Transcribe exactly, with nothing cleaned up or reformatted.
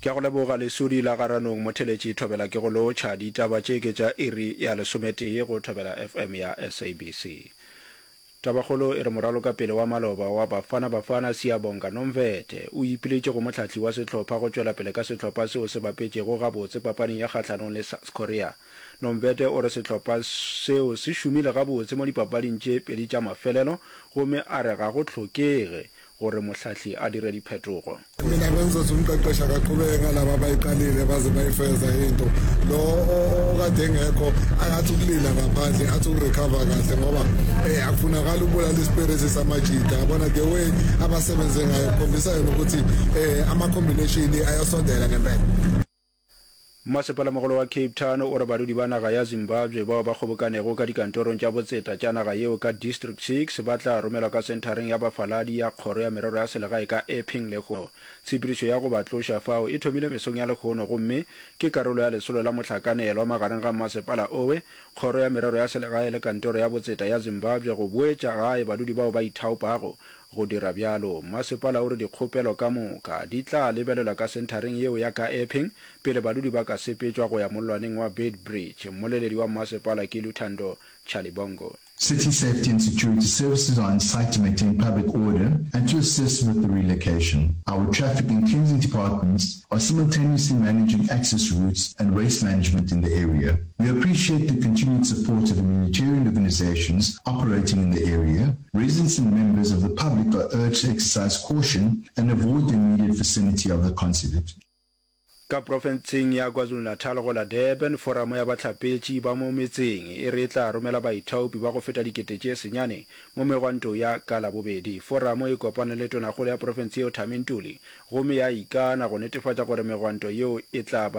Ke a go leboga Lesodi la Garanong Motheletši Thobela ke go lotšha. Ditaba tše ke tša iri ya lesometee go Thobela FM ya SABC. Tabakgolo e re moralokapele wa maloba wa Bafana Bafana Siyabonga Nomvethe o ipiletše go mohlahli wa sehlopha go tšwela pele ka sehlopha seo se bapetšego gabotse papading ya kgahlanong le South Korea. Nomvethe o re sehlopha seo se šomile gabotse mo dipapading tše pedi tša mafelelo gomme a re ga go hlokege gore mohlahli a dire diphetogo. Mina bengizothi umqeqeshi akaqhubeke ngalaba abayiqalile baze bayifeza into lo okade engekho akathi ukulinda ngaphandle athi ukurecover kahle ngoba eh akufunakala ukubulala ispirit samajita yabona the way abasebenze ngayo kukhombisa yena ukuthi eh ama combination ayasondela ngempela. Mmasepalamogolo wa Cape Town o re badudi ba naga ya Zimbabwe bao ba kgobokanego ka dikantorong tša botseta tša naga yeo ka District Six ba tla romelwa ka senthareng ya bafaladi ya Kgoro ya Merero ya Selegae ka Epping lehono. Tshepedišo ya go ba tloša fao e thomile mesong ya lehono gomme ke karolo ya lesolo la mohlakanelwa magareng ga mmasepala owe, Kgoro ya Merero ya Selegae le Kantoro ya Botseta ya Zimbabwe go boetša gae badudi bao ba ithaopago Go dira bjalo, mmasepala o re dikgopelo ka moka di tla lebelelwa ka senthareng yeo ya ka Epping pele badudi ba ka sepetšwa go ya mollwaneng wa Beitbridge. Mmoleledi wa mmasepala ke Luthando Chalibongo. City Safety and Security Services are on site to maintain public order and to assist with the relocation. Our traffic and cleansing departments are simultaneously managing access routes and waste management in the area. We appreciate the continued support of humanitarian organizations operating in the area. Residents and members of the public are urged to exercise caution and avoid the immediate vicinity of the consulate. Ka profenseng ya KwaZulu-Natal go la Durban, Foramo ya Bahlapetši ba mo Metseng e re e tla romela baithaopi ba go feta dikete tše senyane mo megwanto ya ka Labobedi. Foramo e kopane le Tonakgolo ya profense yeo Thami Ntuli gomme ya ikana go netefatša gore megwanto yeo e tla ba